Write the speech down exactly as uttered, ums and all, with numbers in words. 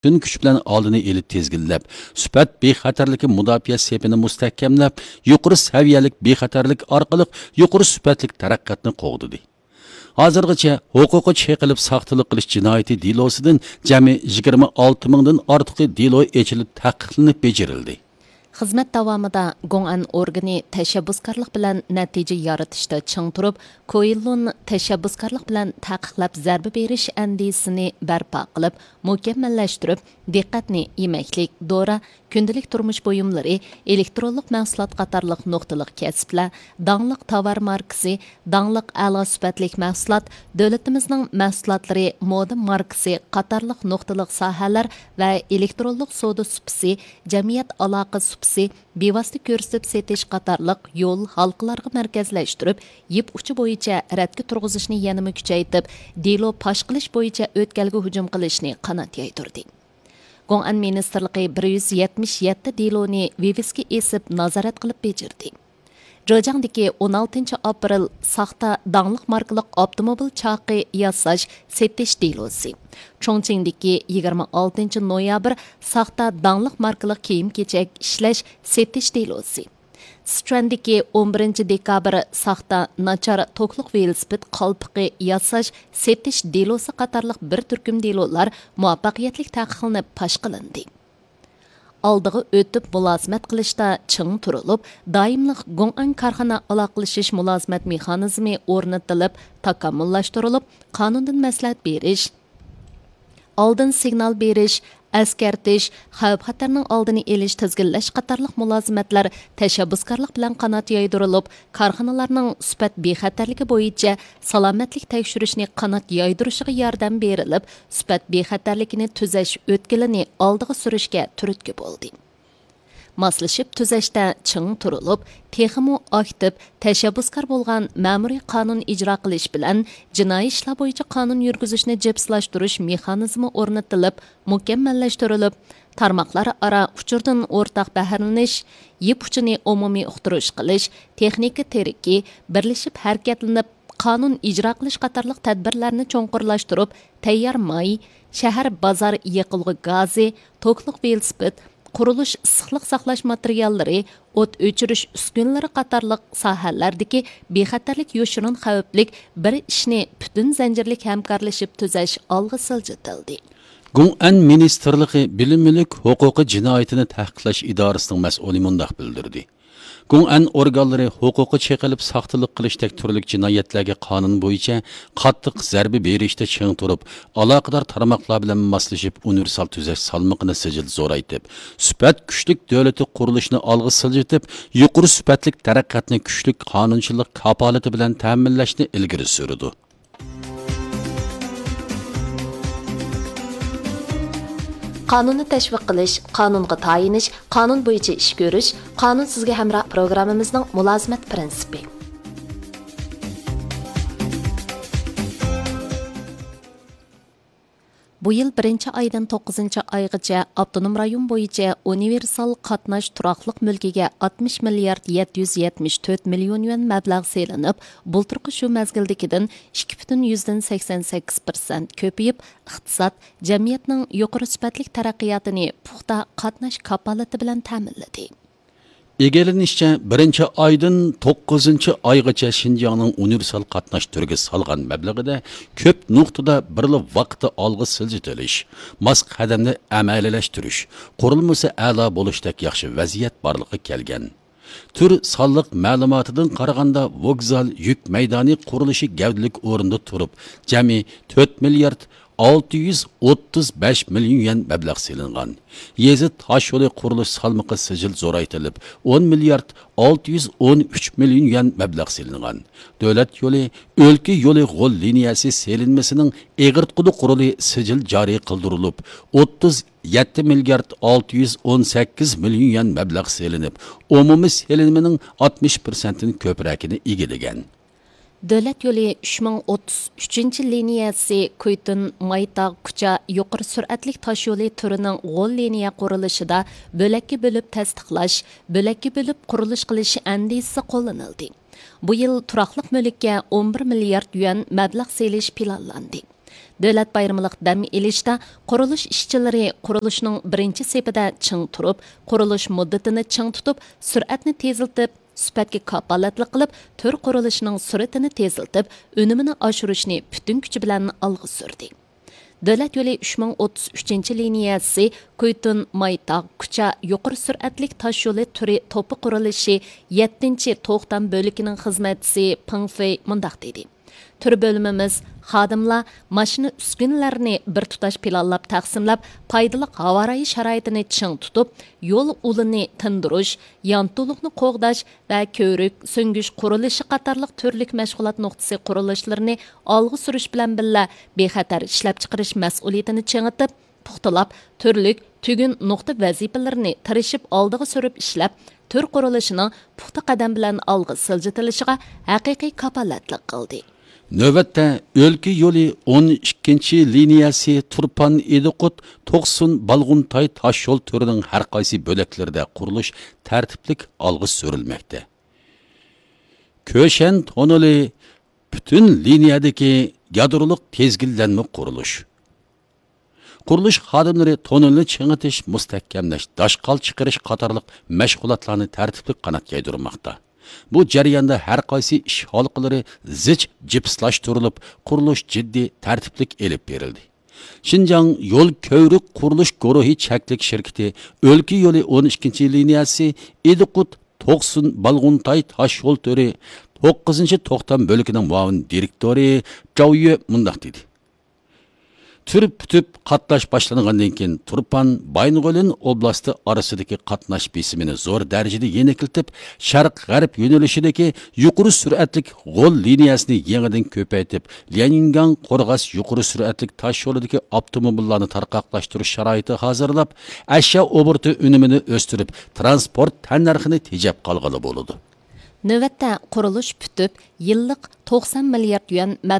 پۈتۈن كۈچ بىلەن ئالدىنى ئېلىپ تىزگىنلەپ، سۈپەت بىخەتەرلىكى مۇداپىئە سېپىنى مۇستەھكەملەپ، يۇقىرى سەۋىيەلىك بىخەتەرلىك ئارقىلىق يۇقىرى سۈپەتلىك تەرەققىياتنى قوغدىدى. ھازىرغىچە ھوقۇققا چېقىلىپ ساختىلىق قىلىش جىنايىتى دېلوسىدىن جەمئىي يىگىرمە ئالتە مىڭدىن ئارتۇقى دېلو ئېچىلىپ تەھقىقلىنىپ بېجىرىلدى. خىزمەت داۋامىدا گوڭئەن ئورگىنى تەشەببۇسكارلىق بىلەن نەتىجە يارىتىشتا چىڭ تۇرۇپ، كوئېللۇن تەشەببۇسكارلىق بىلەن تەقىقلەپ زەربە بېرىش ئەندىزىسىنى بەرپا قىلىپ، مۇكەممەللەشتۈرۈپ، دىققەتنى يېمەكلىك، دورا، كۈندىلىك تۇرمۇش بۇيۇملىرى، ئېلېكترونلۇق مەھسۇلات قاتارلىق نۇقتىلىق كەسىپلەر، داڭلىق تاۋار ماركىسى، داڭلىق ئەلا سۈپەتلىك مەھسۇلات، دۆلىتىمىزنىڭ مەھسۇلاتلىرى، مودا ماركىسى قاتارلىق نۇقتىلىق ساھەلەر ۋە ئېلېكترونلۇق سودا سۇپىسى، جەمئىيەت ئالاقە سۇپىسى، بىۋاسىتە كۆرسىتىپ سېتىش قاتارلىق يول ھالقىلارغا مەركەزلەشتۈرۈپ، يىپ ئۇچى بويىچە رەتكە تۇرغۇزۇشنى يەنىمۇ كۈچەيتىپ، دېلو پاش قىلىش بويىچە ئۆتكەلگە ھۇجۇم قىلىشنى قانات يايدۇردى. گوڭئەن مىنىستىرلىقى بىر يۈز يەتمىش يەتتە دېلونى ۋىۋىسكا ئېسىپ نازارەت قىلىپ بېجىردى. جېجياڭدىكى ئون ئالتىنچى ئاپرېل ساختا داڭلىق ماركىلىق ئاپتوموبىل چاقى ياساش، سېتىش دېلوسى. چۇڭچىڭدىكى يىگىرمە ئالتىنچى نويابىر ساختا داڭلىق ماركىلىق كىيىم-كېچەك ئىشلەش، سېتىش دېلوسى. سىچۈەندىكى ئون بىرىنچى دېكابىر ساختا ناچار توكلۇق ۋېلىسىپىت قالپىقى ياساش، سېتىش دېلوسى قاتارلىق بىر تۈركۈم دېلولار مۇۋەپپەقىيەتلىك تەقىقلىنىپ پاش قىلىندى. ئالدىغا ئۆتۈپ مۇلازىمەت قىلىشتا چىڭ تۇرۇلۇپ، دائىملىق گوڭئەن كارخانا ئالاقىلىشىش مۇلازىمەت مېخانىزمى ئورنىتىلىپ، تاكامۇللاشتۇرۇلۇپ، قانۇندىن مەسلىھەت بېرىش، ئالدىن سىگنال بېرىش، ئەسكەرتىش، خەۋپ-خەتەرنىڭ ئالدىنى ئېلىش، تىزگىنلەش قاتارلىق مۇلازىمەتلەر تەشەببۇسكارلىق بىلەن قانات يايدۇرۇلۇپ، كارخانىلارنىڭ سۈپەت بىخەتەرلىكى بويىچە سالامەتلىك تەكشۈرۈشنى قانات يايدۇرۇشىغا ياردەم بېرىلىپ، سۈپەت بىخەتەرلىكىنى تۈزەش ئۆتكىلىنى ئالدىغا سۈرۈشكە تۈرتكە بولدى. ماسلىشىپ تۈزەشتە چىڭ تۇرۇلۇپ، تېخىمۇ ئاكتىپ، تەشەببۇسكار بولغان مەمۇرىي قانۇن ئىجرا قىلىش بىلەن جىنايى ئىشلار بويىچە قانۇن يۈرگۈزۈشنى جىپسىلاشتۇرۇش مېخانىزمى ئورنىتىلىپ، مۇكەممەللەشتۈرۈلۈپ، تارماقلار ئارا ئۇچۇردىن ئورتاق بەھرىلىنىش، يىپ ئۇچىنى ئومۇمىي ئۇقتۇرۇش قىلىش، تېخنىكا تىرىكى، بىرلىشىپ ھەرىكەتلىنىپ، قانۇن ئىجرا قىلىش قاتارلىق تەدبىرلەرنى چوڭقۇرلاشتۇرۇپ، تەييار ماي، شەھەر، بازار يېقىلغۇ گازى، توكلۇق ۋېلىسىپىت، قۇرۇلۇش ئىسسىقلىق ساقلاش ماتېرىياللىرى، ئوت ئۆچۈرۈش ئۈسكۈنىلىرى قاتارلىق ساھەلەردىكى بىخەتەرلىك يوشۇرۇن خەۋپلىك بىر ئىشنى پۈتۈن زەنجىرلىك ھەمكارلىشىپ تۈزەش ئالغا سىلجىتىلدى. گوڭئەن مىنىستىرلىقى بىلىم مۈلۈك ھوقۇقى جىنايىتىنى تەھقىقلەش ئىدارىسىنىڭ مەسئۇلى مۇنداق بىلدۈردى. گوڭئەن ئورگانلىرى ھوقۇققا چېقىلىپ ساختىلىق قىلىشتەك تۈرلۈك جىنايەتلەرگە قانۇن بويىچە قاتتىق زەربە بېرىشتە چىڭ تۇرۇپ، ئالاقىدار تارماقلار بىلەن ماسلىشىپ ئۇنىۋېرسال تۈزەش سالمىقىنى سىجىل زورايتىپ، سۈپەت كۈچلۈك دۆلىتى قۇرۇلۇشىنى ئالغا سىلجىتىپ، يۇقىرى سۈپەتلىك تەرەققىياتنى كۈچلۈك قانۇنچىلىق كاپالىتى بىلەن تەمىنلەشنى ئىلگىرى سۈرىدۇ. قانۇننى تەشۋىق قىلىش، قانۇنغا تايىنىش، قانۇن بويىچە ئىش كۆرۈش، قانۇن سىزگە ھەمراھ پروگراممىمىزنىڭ مۇلازىمەت پىرىنسىپى. بۇ يىل بىرىنچى ئايدىن توققۇزىنچى ئايغىچە ئاپتونوم رايون بويىچە ئۇنىۋېرسال قاتناش تۇراقلىق مۈلكىگە ئاتمىش مىليارد يەتتە يۈز يەتمىش تۆت مىليون يۈەن مەبلەغ سېلىنىپ، بۇلتۇرقى شۇ مەزگىلدىكىدىن ئىككى پۈتۈن يۈزدىن سەكسەن سەككىز پىرسەنت كۆپىيىپ، ئىقتىساد، جەمئىيەتنىڭ يۇقىرى سۈپەتلىك تەرەققىياتىنى پۇختا قاتناش كاپالىتى بىلەن تەمىنلىدى. ئىگىلىنىشىچە، بىرىنچى ئايدىن توققۇزىنچى ئايغىچە شىنجاڭنىڭ ئۇنىۋېرسال قاتناش تۈرىگە سالغان مەبلىغىدە كۆپ نۇقتىدا بىرلا ۋاقىتتا ئالغا سىلجىتىلىش، ماس قەدەمدە ئەمەلىيلەشتۈرۈش، قۇرۇلمىسى ئەلا بولۇشتەك ياخشى ۋەزىيەت بارلىققا كەلگەن. تۈر سانلىق مەلۇماتىدىن قارىغاندا، ۋوگزال يۈك مەيدانى قۇرۇلۇشى گەۋدىلىك ئورۇندا تۇرۇپ، جەمئىي تۆت مىليارد ئالتە يۈز ئوتتۇز بەش مىليون يۈەن مەبلەغ سېلىنغان. يېزا تاش يولى قۇرۇلۇش سالمىقى سىجىل زورايتىلىپ، ئون مىليارد ئالتە يۈز ئون ئۈچ مىليون يۈەن مەبلەغ سېلىنغان. دۆلەت يولى، ئۆلكە يولى غول لىنىيەسى سېلىنمىسىنىڭ ئېغىرتقۇلۇق رولى سىجىل جارى قىلدۇرۇلۇپ، ئوتتۇز يەتتە مىليارد ئالتە يۈز ئون سەككىز مىليون يۈەن مەبلەغ سېلىنىپ، ئومۇمىي سېلىنمىنىڭ ئاتمىش پىرسەنتتىن كۆپرەكىنى ئىگىلىگەن. دۆلەت يولى ئۈچ مىڭ ئوتتۇز ئۈچىنچى لىنىيەسى كۇيتۇن مايتاغ كۇچا يۇقىرى سۈرئەتلىك تاش يولى تۈرىنىڭ غول لىنىيە قۇرۇلۇشىدا بۆلەككە بۆلۈپ تەستىقلاش، بۆلەككە بۆلۈپ قۇرۇلۇش قىلىش ئەندىزىسى قوللىنىلدى. بۇ يىل تۇراقلىق مۈلۈككە ئون بىر مىليارد يۈەن مەبلەغ سېلىش پىلانلاندى. دۆلەت بايرىملىق دەم ئېلىشتا قۇرۇلۇش ئىشچىلىرى قۇرۇلۇشنىڭ بىرىنچى سېپىدە چىڭ تۇرۇپ، قۇرۇلۇش مۇددىتىنى چىڭ تۇتۇپ، سۈرئەتنى تېزلىتىپ، سۈپەتكە كاپالەتلىك قىلىپ، تۈر قۇرۇلۇشىنىڭ سۈرئىتىنى تېزلىتىپ، ئۈنۈمىنى ئاشۇرۇشنى پۈتۈن كۈچى بىلەن ئالغا سۈردى. دۆلەت يولى ئۈچ مىڭ ئوتتۇز ئۈچىنچى لىنىيەسى كۇيتۇن، مايتاغ، كۇچا يۇقىرى سۈرئەتلىك تاش يولى تۈرى توپى قۇرۇلۇشى يەتتىنچى توختام بۆلىكىنىڭ خىزمەتچىسى پېڭ فېي مۇنداق دېدى: تۈر بۆلۈمىمىز خادىملار ماشىنا ئۈسكۈنىلەرنى بىر تۇتاش پىلانلاپ تەقسىملەپ، پايدىلىق ھاۋا رايى شارائىتىنى چىڭ تۇتۇپ، يول ئۇلىنى تىندۇرۇش، يانتۇلۇقنى قوغداش ۋە كۆۋرۈك سۈڭگۈچ قۇرۇلۇشى قاتارلىق تۈرلۈك مەشغۇلات نۇقتىسى قۇرۇلۇشلىرىنى ئالغا سۈرۈش بىلەن بىللە، بىخەتەر ئىشلەپچىقىرىش مەسئۇلىيىتىنى چىڭىتىپ، پۇختىلاپ، تۈرلۈك تۈگۈن نۇقتا ۋەزىپىلىرىنى تىرىشىپ ئالدىغا سۈرۈپ ئىشلەپ، تۈر قۇرۇلۇشىنىڭ پۇختا قەدەم بىلەن ئالغا سىلجىتىلىشىغا ھەقىقىي كاپالەتلىك قىلدى. نۆۋەتتە، ئۆلكە يولى ئون ئىككىنچى لىنىيەسى تۇرپان، ئىدىقۇت، توقسۇن، بالغۇنتاي تاش يول تۈرىنىڭ ھەر قايسى بۆلەكلىرىدە قۇرۇلۇش تەرتىپلىك ئالغا سۈرۈلمەكتە. كۆشەن توننېلى پۈتۈن لىنىيەدىكى يادرولۇق تىزگىنلەنمە قۇرۇلۇش. قۇرۇلۇش خادىملىرى توننېلنى چىڭىتىش، مۇستەھكەملەش، داشقال چىقىرىش قاتارلىق مەشغۇلاتلارنى تەرتىپلىك قانات يايدۇرماقتا. بۇ جەرياندا ھەر قايسى ئىش ھالقىلىرى زىچ جىپسلاشتۇرۇلۇپ، قۇرۇلۇش جىددىي تەرتىپلىك ئېلىپ بېرىلدى. شىنجاڭ يول كۆۋرۈك قۇرۇلۇش گۇرۇھى چەكلىك شىركىتى ئۆلكە يولى ئون ئىككىنچى لىنىيەسى ئىدىقۇت، توقسۇن، بالغۇنتاي تاش يول تۈرى توققۇزىنچى توختام بۆلىكىنىڭ مۇئاۋىن دىرېكتورى جاۋ يۈ مۇنداق دېدى: تۈر پۈتۈپ، قاتناش باشلانغاندىن كېيىن، تۇرپان، بايىنغولىن ئوبلاستى ئارىسىدىكى قاتناش بېسىمىنى زور دەرىجىدە يېنىكلىتىپ، شەرق غەرب يۆنىلىشىدىكى يۇقىرى سۈرئەتلىك غول لىنىيەسىنى يېڭىدىن كۆپەيتىپ، ليەنگاڭ قورغاس يۇقىرى سۈرئەتلىك تاش يولىدىكى ئاپتوموبىللارنى تارقاقلاشتۇرۇش شارائىتى ھازىرلاپ، ئەشيا ئوبوروتى ئۈنۈمىنى ئۆستۈرۈپ، تىرانسپورت تەننەرخىنى تېجەپ قالغىلى بولىدۇ. نۆۋەتتە قۇرۇلۇش پۈتۈپ، يىللىق توقسان مىليارد يۈەن